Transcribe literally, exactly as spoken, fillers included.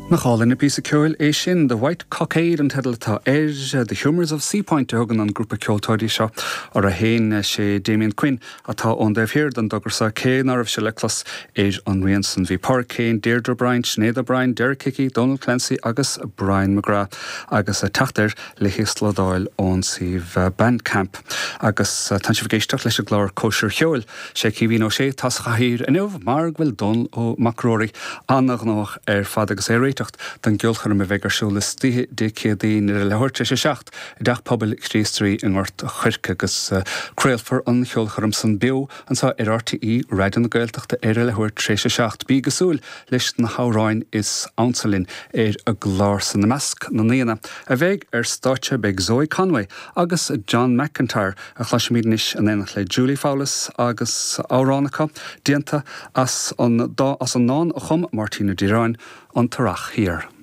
Nach álainn an píosa ceoil é sin The White Cockade an teideal atá air The Humours of Seapoint a thugann an grúpa ceoltóirí seo orthu féin sé Damien Quinn atá ón dtaobh thiar den dtogra seo cé nach raibh sé le clos ar an rian san bhí Pádraig Kane, Deirdre O'Brien, Sinéad O'Brien, Derek Hickey, Donald Clancy agus Brian McGrath agus teacht air le híoslódáil ón suíomh Bandcamp. Agus tá sibh ag éisteacht leis an gclár Cóisir Cheoil sé Caoimhín Ó Sé atá sa chathaoir inniu mar go bhfuil Dónal Ó Mac Ruairí an-ghnóthach ar fad agus é ag réiteach don gceolchoirm a bheidh ar siúl istoíche Dé Céadaoin ar a leathuair tar éis a seacht i dTeach Pobail Chríost Rí i nGort Choirce agus craolfar an cheolchoirm san beo anseo ar RTÉ Raidió na Gaeltachta ar a leathuair tar éis a seacht. Bí ag súil leis na hamhráin is ansa linn ar an gclár san i measc na ndaoine a bheidh ar stáitse beidh Zoe Conway agus John McIntyre a chloisfimid anois in éineacht le Julie Fowlis agus amhrán acu déanta as an dá as an ndán a chum Máirtín Ó Direáin an tEarrach Thiar.